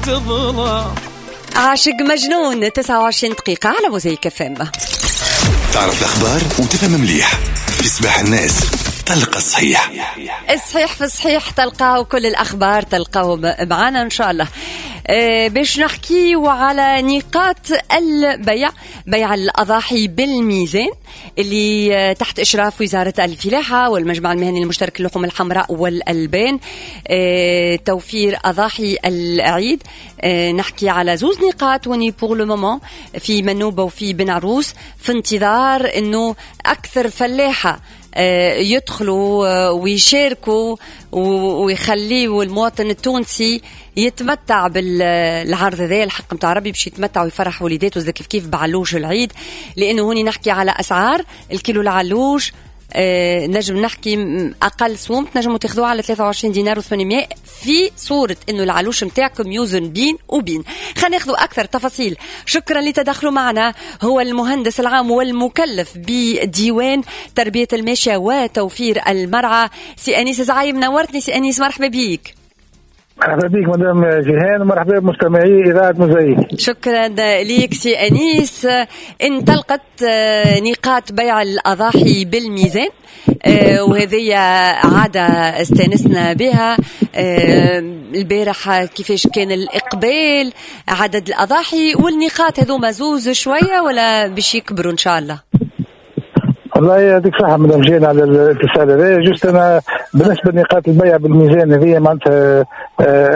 تظلم. عاشق مجنون، 29 دقيقة على موزايك FM. تعرف الأخبار وتفهم مليح في صباح الناس تلقى الصحيح. الصحيح في الصحيح تلقاه، كل الأخبار تلقاه معنا إن شاء الله. باش نحكيو على نقاط البيع، بيع الأضاحي بالميزان اللي تحت إشراف وزارة الفلاحة والمجمع المهني المشترك للحوم الحمراء والألبان، توفير أضاحي العيد. نحكي على زوز نقاط وني pour le moment في منوبة وفي بن عروس، في انتظار إنه أكثر فلاحة يدخلوا ويشاركوا ويخليوا المواطن التونسي يتمتع بالعرض هذا، الحق نتاع ربي باش يتمتع ويفرح وليداته زاد كيف كيف بعلوش العيد. لانه هوني نحكي على اسعار الكيلو العلوش، نجم نحكي اقل سوم تنجموا تاخذوها على 23 دينار و800 في صوره انه العلوش نتاعكم يوزن بين وبين. خلينا ناخذوا اكثر تفاصيل. شكرا لتدخلوا معنا، هو المهندس العام والمكلف بديوان تربيه الماشية وتوفير المرعى سي انيس زعيم. نورتني سي انيس، مرحبا بيك. مرحبا بك مدام جيهان، ومرحبا بمستمعي إذاعة موزايك. شكرا ليك سي أنيس. انطلقت نقاط بيع الأضاحي بالميزان، وهذه عادة استانسنا بها. البارح كيفاش كان الإقبال، عدد الأضاحي والنقاط هذوما زوز شوية ولا باش يكبروا إن شاء الله؟ والله يعطيك الصحة مدام جيهان على الاتصال هذا. juste أنا بالنسبة لنقاط البيع بالميزان هذه معناتها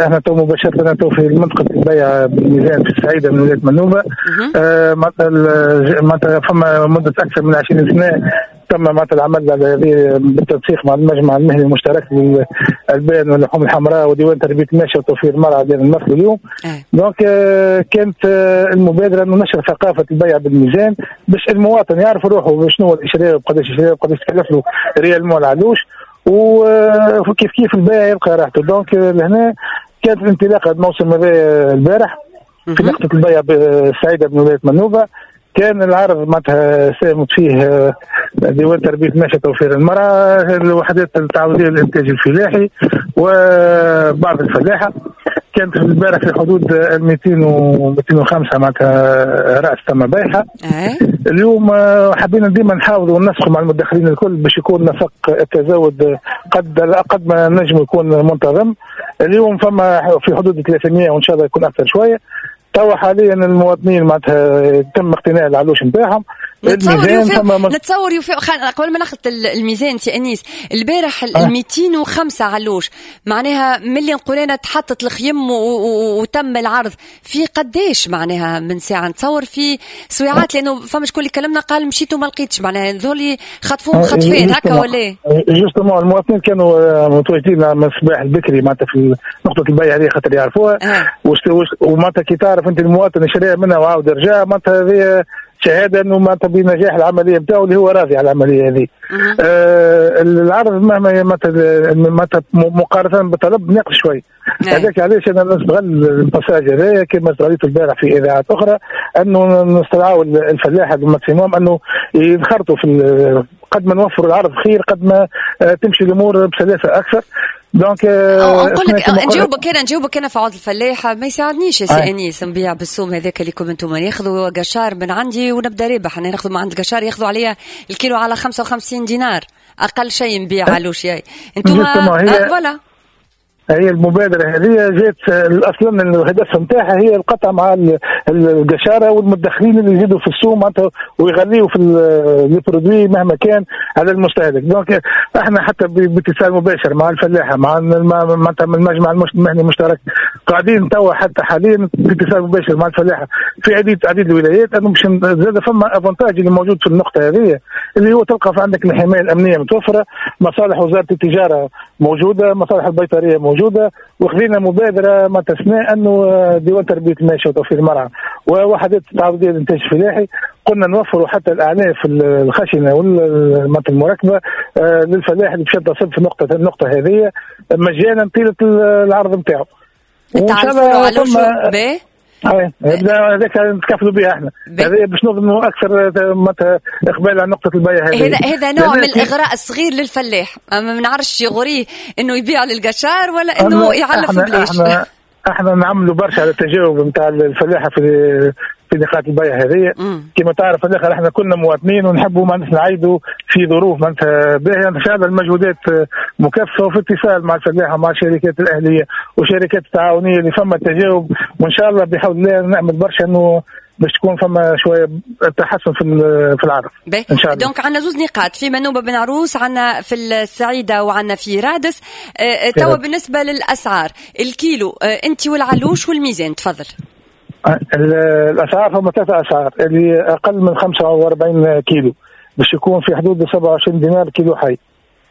احنا تو مباشرة تو في منطقة البيع بالميزان في السعيدة من ولاية منوبة. معناتها فما مدة أكثر من 20 سنة تم معناتها العمل على هذه بالتنسيق مع المجمع المهني المشترك للألبان واللحوم الحمراء وديوان تربية الماشية وتوفير المرعى ديال المركز اليوم. donc كانت المبادرة انه نشر ثقافة البيع بالميزان باش المواطن يعرف روحه شنو اللي شراه وقداش شراه وقداش تكلف له réellement العلوش، وكيف كيف البائع يلقى راحته. donc لهنا كانت الانطلاقة الموسم هذا البارح في نقطة البيع السعيدة من ولاية منوبة. كان العرض معناتها ساهمت فيه ديوان تربية الماشية توفير المرعى، الوحدات التعاونية للإنتاج الفلاحي وبعض الفلاحة. كانت البارح في حدود 200 و 205 معناتها رأس تم بيعها. اليوم حبينا ديما نحاولوا وننسقوا مع المدخلين الكل باش يكون نسق التزاود قد ما نجم يكون منتظم. اليوم فما في حدود 300 وإن شاء الله يكون أكثر شوية. توا حاليا المواطنين معناتها تم اقتناء العلوش نتاعهم. نتصور يوفي قبل ما ناخذ الميزان سي انيس، البارح ال 205 علوش معناها ملي نقول تحطت الخيم وتم العرض في قداش معناها من ساعة؟ نتصور في سويعات، لانه فما شكون اللي كلمنا قال مشيت وما لقيتش، معناها ذولي خطفوهم خطفين هكا ولا؟ justement المواطنين كانوا متواجدين من الصباح البكري معناتها في نقطة البيع هذه خاطر يعرفوها، ومعناتها كي تعرف انت المواطن شرى منها وعاود رجع معناتها هذه شهادة انه معناتها بنجاح العملية نتاعو اللي هو راضي على العملية هذه. العرض مهما معناتها مقارنة بالطلب ناقص شوي. هذاك علاش انا نستغل ال passage هذايا كما استغليته البارح في اذاعات اخرى، انه نستدعوا الفلاحة بال maximum انه ينخرطوا في قد ما نوفروا العرض خير قد ما تمشي الامور بسلاسة اكثر. donc نقول لك نجاوبك انا في عوض الفلاح ما يساعدنيش يا سي انيس نبيع بالسوم هذاك اللي كم انتم ياخذوا قشار من عندي ونبدا رابح. انا ناخذ من عند القشار ياخذوا عليا الكيلو على 55 دينار اقل شيء نبيع علوش ياي انتم voilà. هي المبادرة هذه جات اصلا الهدف نتاعها هي القطع مع القشاره والمدخلين اللي يزيدوا في السوق معناتها ويغليوا في les produits مهما كان على المستهلك. donc احنا حتى باتصال مباشر مع الفلاحة مع معناتها من المجمع المهني المشترك قاعدين توا حتى حاليا باتصال مباشر مع الفلاحة في عديد الولايات انه باش زاد فما avantage اللي موجود في النقطة هذه اللي هو تلقى في عندك الحماية الامنية متوفرة، مصالح وزارة التجارة موجودة، مصالح البيطريه موجودة، وخذينا مبادرة ما تسنى انه ديوان تربيه الماشية وتوفير المرعى ووحدات التعاضديه للانتاج الفلاحي قلنا نوفروا حتى الاعلاف الخشنة والمركبه للفلاح اللي باش يتصل في النقطة هذه مجانا طيلة العرض نتاعو. وان شاء الله هذاك نتكفلوا بها احنا، هذا باش نضمنوا اكثر اقبال على نقطة البيع هذه. هذا نوع من الاغراء الصغير للفلاح، ما نعرفش يغريه انه يبيع للقشار ولا انه يعلف بلاش. احنا نعملوا برشا على التجاوب نتاع الفلاحة في نقاط البيع هذه. كما تعرف في الاخر احنا كلنا مواطنين ونحبوا معناتها نعيدوا في ظروف معناتها باهيه. فعلا المجهودات مكثفة وفي اتصال مع الفلاحة ومع الشركات الاهلية والشركات التعاونية اللي فما تجاوب، وان شاء الله بحول الله نعمل برشا انه باش تكون فما شوية تحسن في العرض ان شاء الله. donc عندنا زوز نقاط في منوبه بن عروس، عندنا في السعيدة وعندنا في رادس. توا بالنسبة للاسعار الكيلو، انت والعلوش والميزان، تفضل. الاسعار فما ثلاث اسعار، اللي اقل من 45 كيلو باش يكون في حدود 27 دينار كيلو حي،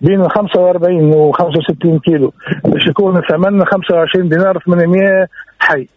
بين 45 و 65 كيلو باش يكون الثمن 25 دينار 800 حي،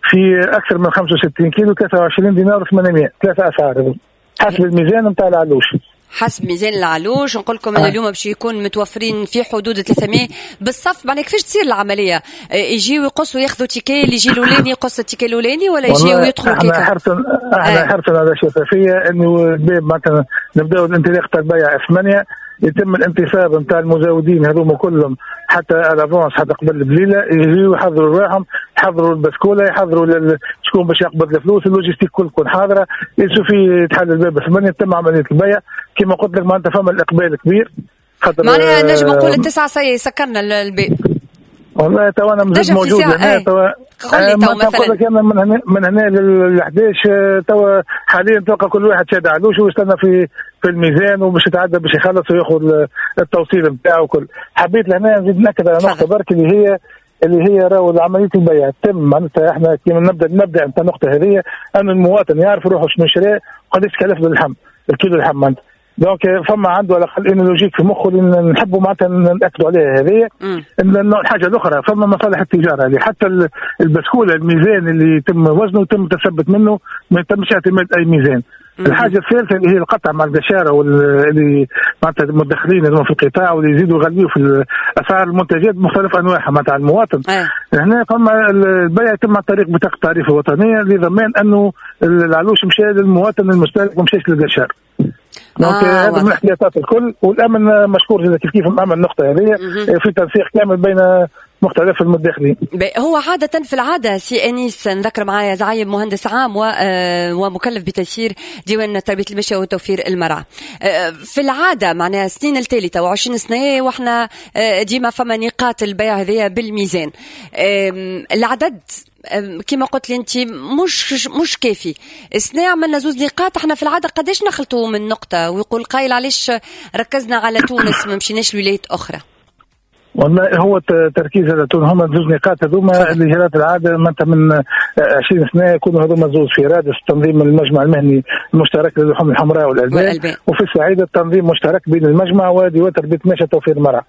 في اكثر من 65 كيلو 23 دينار 800. ثلاثة اسعار حسب الميزان نتاع العلوش. حسب ميزان العلوش. نقول لكم ان اليوم باش يكون متوفرين في حدود 300 بالصف. معناها كيفاش تصير العملية؟ يجيو يقصوا ياخذوا ticket، اللي يجي الاولاني يقص ال ticket الاولاني ولا يجيو يدخلوا كيكا؟ احنا حرصنا على الشفافية، انه الباب معناتها نبداو الانطلاق تاع البيع 8، يتم الانتصاب نتاع المزودين هذوما كلهم حتى à l'avance، حتى قبل بليلة يجيو يحضروا رواحهم، يحضروا ال bascule، يحضروا شكون باش يقبض الفلوس، ال logistique كل تكون حاضره. يسوفي يتحل الباب 8 تم عملية البيع. كما قلت لك معناتها فما الاقبال كبير. معناها نجم نقول 9 سكرنا الباب. والله تو انا مازلت موجود هنا تو. قول لي تو مثلا نقول لك انا من هنا لل 11 تو حاليا تلقى كل واحد شاد علوش ويستنى في الميزان وباش يتعدى باش يخلص وياخذ التوصيل نتاعو وكل. حبيت لهنا نزيد ناكد على نقطة برك اللي هي راهو عملية البيع تم معناتها احنا كيما نبدا نتاع النقطة هذه ان المواطن يعرف روحه شنو شرى وقداش كلف باللحم الكيلو اللحم معناتها. donc فما عنده على الاقل une logique في مخه اللي نحبوا معناتها ناكدوا عليها هذه. الحاجة الاخرى فما مصالح التجارة اللي حتى ال bascule الميزان اللي يتم وزنه يتم التثبت منه، ما يتمش اعتماد اي ميزان. الحاجة الثالثة اللي هي القطع مع القشاره واللي معناتها المتدخلين اللي في القطاع واللي يزيدوا يغليوا في اسعار المنتجات بمختلف انواعها معناتها على المواطن. هنا فما البيع يتم عن طريق بطاقة التعريف الوطنية لضمان انه العلوش مشى للمواطن المستهلك وما مشاش للقشار. donc هذا من الاحتياطات الكل، والامن مشكور جدا كيف كيف مأمن النقطة هذه في تنسيق كامل بين مختلف المتداخلين. هو عادة في العادة سي أنيس، نذكر معايا زعيم مهندس عام ومكلف بتسيير ديوان تربية الماشية وتوفير المرعى. في العادة معناها سنين التالتة و20 سنة واحنا ديما فما نقاط البيع هذيا بالميزان. العدد كما قلت لي انت مش كافي. السنة عملنا زوز نقاط، احنا في العادة قداش نخلطوا من نقطة؟ ويقول قايل علاش ركزنا على تونس ما مشيناش لولايات اخرى؟ والله هو التركيز على تونس، هما زوز نقاط هذوما اللي جرات العادة معناتها من 20 سنة يكونوا هذوما زوز في رادس تنظيم المجمع المهني المشترك للحوم الحمراء والالبان، وفي السعيدة التنظيم مشترك بين المجمع وديوان تربيه الماشية وتوفير المرعى.